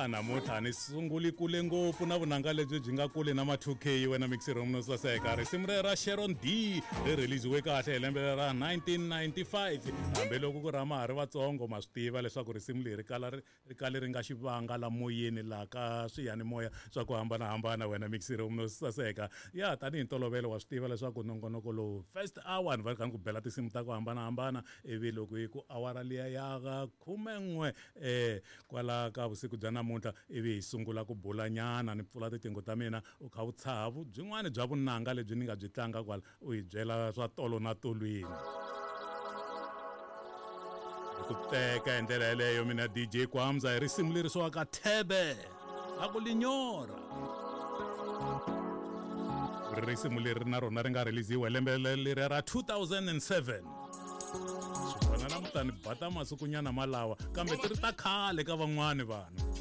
Ya namuntlha ni sunguli kule ngopfu na vunanga lebyi byi nga kule na ma 2K wena mixero no saseka. Risimu rero ra Sharon D ri release-iwe kahle hi lembe ra 1995. Hambiloko ku ri ma ha ri vatsongo ma swi tiva leswaku risimu leri kala ri ri kale ri nga xivanga la moyeni laha ka swiyanimoya swa ku hambanahambana wena mixero no saseka. Ya tanihi ntolovelo wa swi tiva leswaku nongonoko lowu first hour ni va ri kha ni ku bela tinsimu ta ku hambanahambana ivi loko yi ku awara liya ya khumen'we um kwala ka vusiku bya namuntlha ivi hi sungula ku bulanyana ni pfula tiqingho ta mina u kha u tshaha byin'wana bya vunanga lebyi ni nga byi tlanga kwala u hi byela swa tolo na tolweni hi ku teka hi ndlela yeleyo mina DJ Kwamza hi risimu leri swiwaka thebe a ku linyora risimu leri na rona ri nga release-iwa hi lembe leriya ra 2007 swi vona namuntlha ni bata masikunyana malawa kambe ti ri ta khale ka van'wani vanhu.